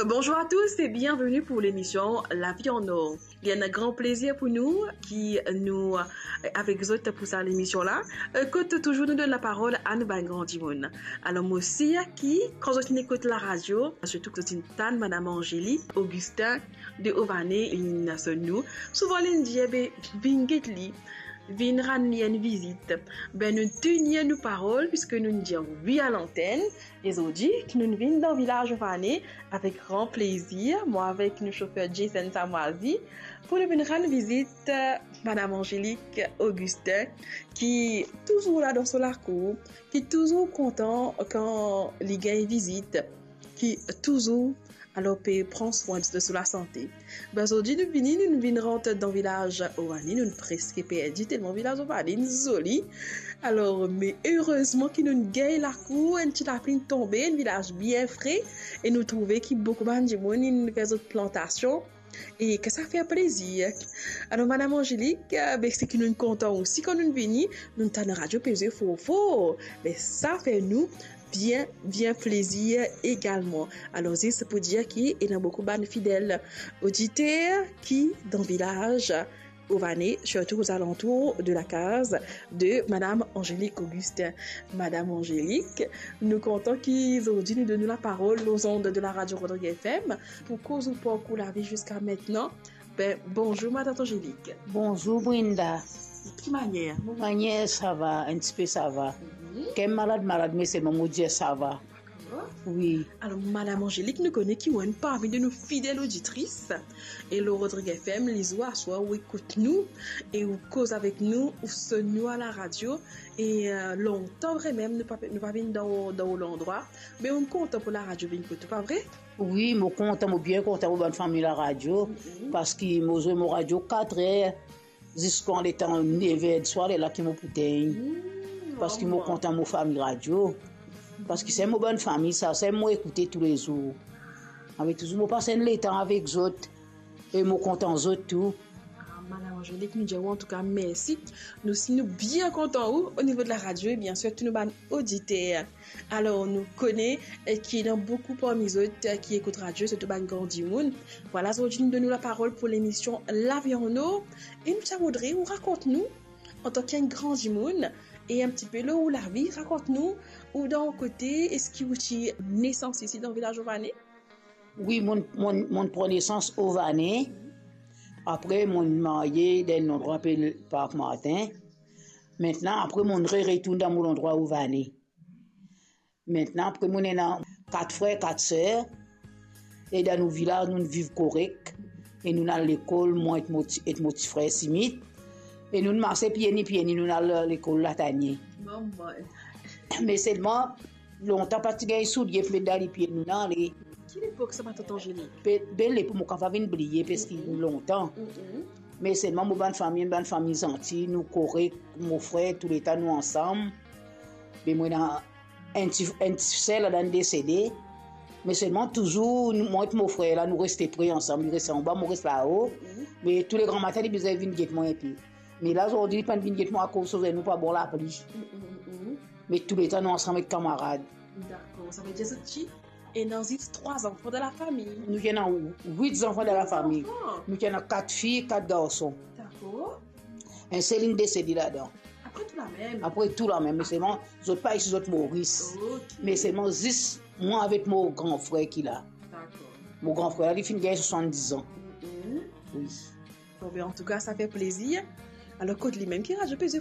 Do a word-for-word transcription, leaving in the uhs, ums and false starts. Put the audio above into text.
Bonjour à tous et bienvenue pour l'émission La vie en or. Li enn gran plezir pou nou ki nou, eh, avek zot pou sa lemision la. Eh, kot touzour nou donn laparol a nou bann gran dimoun. Alor, mo sir ki, kan zot inn ekout laradio, sirtou kan zot inn tann Madam Angélique Augustin de Ované, inn sonn nou, souvan li inn dir, "Be, vinn get li, vinn rann li enn vizit." Be, nou tenir nou parol, piski nou dir wi a lantenn. E zordi, nou vinn dan vilaz Ované avek gran plezir, mwa avek nou sofer Jason Samwazi, pou nou vinn rann vizit, eh, Madam Angélique Augustin, ki touzour la dan so lakour, ki touzour kontan kan li gagn vizit, ki touzour, alor, pe pran swin de so lasante. Be, zordi nou vini, nou vinn rant dan vilaz Ované, nou preske perdi, telman vilaz Ované inn zoli. Alor, me erezman ki nou gagn lakour, enn ti lapli tonbe, enn vilaz bien fre, e nou trouve ki boukou bann dimoun inn fer zot plantasion, e ki sa fer plezir. Alor, Madam Angélique, eh, be, seki nou kontan osi kan nou vini, nou tann radio pe zwe for for. Be, sa fer nou bien, bien plezir egalman. Alor, zis pou dir ki ena boukou bann fidel oditer ki dan vilaz Ované, sirtou ozalantour de lakaz de Madam Angélique Augustin. Madam Angélique, nou kontan ki zordi nou donn ou laparol lor zond de la radio Rodrigues F M pou koz ou parkour lavi ziska aster. Be, bonzour, Madam Angélique. Bonzour, Brenda. Ki manier? Manier, sa va, enn tipe sa va. Mhm. Ker malad, malad, me selman mo dir sa va. Dakor. Wi. Alor, Madam Angélique, nou kone ki ou enn parmi de nou fidel oditris. E lor Rodrigues F M, lizour aswar ou ekout nou, e ou koz avek nou, ou sonn nou a laradio. E, eh, lontan vremem, nou pa, nou pa vinn dan ou, dan ou landrwa. Me ou kontan pou laradio vinn kot ou, pa vre? Wi, mo kontan, mo bien kontan mo bann fami laradio, mhm, paski mo zwe mo radio katrer ziska letan nev er diswar, lerla ki mo pou tegn. Hmm, paski mo, oh, kontan mo fami radio. Paski se mo bann fami sa, se mo ekoute toulezour. Ave touzour, mo pas enn letan avek zot, e mo kontan zot tou. Ah, Madam Angélique, nou dir ou antouka mersi. Nou si nou bien kontan ou, o nivo de laradio, e biensir, tou nou bann oditer. Alor, nou kone, eh, ki ena boukou parmi zot, eh, ki ekout radio, sirtou bann gran dimoun. Vwala, zordi nou donn ou laparol pou lemision La vie en or. E nou ti voudre ou rakont nou, antan ki enn gran dimoun, e enn tipe lor ou lavi, rakont nou, ou dan ou kote, eski ou ti nesans isi dan vilaz Ované? Wi, mo, mo, mo pran nesans Ované. Apre, mo marye dan enn landrwa apel Park Martin. Aster, apre, mo re-, retourn dan mo landrwa Ované. Aster, apre, mo ena kat frer, kat ser. E dan nou vilaz, nou viv korek. E nou al lekol, mwa ek mo ti, ek mo ti frer Simit. E nou marse pieni, pieni, nou al lekol Latanie. Mama. Me selman, lontan pa ti gagn soulie pou met dan lipie, nou ale. Ki lepok sa, Madam Angélique? Be, be lepok mo kapav vinn bliye, paski, mhm, lontan. Mhm. Me selman mo bann fami, bann fami zanti, nou korek, mo frer, touletan nou ansam. Be mo ena enn ti, enn ti ser ladan inn desede. Me selman touzour, nou, mwa ek mo frer la, nou reste pre ansam. Li res anba, mo res lao. Mhm. Me toule gramatin, li bizin vinn get mwa enpe. Me la, zordi, li pa'nn vinn get mwa akoz so zenou pa bon, lapli. Mhm, mhm. Me touletan nou ansam ek kamarad. Dakor, savedir zot ti ena zis trwa zanfan dan lafami? Nou ti ena wit zanfan dan lafami. Wit zanfan? Nou ti ena kat fi, kat garson. Dakor. Enn sel inn desede ladan. Apre tou lamem? Apre tou lamem, me selman zot pa isi, zot Moris. Ok. Me selman zis mwa avek mo gran frer ki la. Dakor. Mo gran frer la, li finn gagn swasanndiz an. Mhm. Wi. Bon, be, antouka, sa fer plezir. Alor, kot limem ki radio pe zwe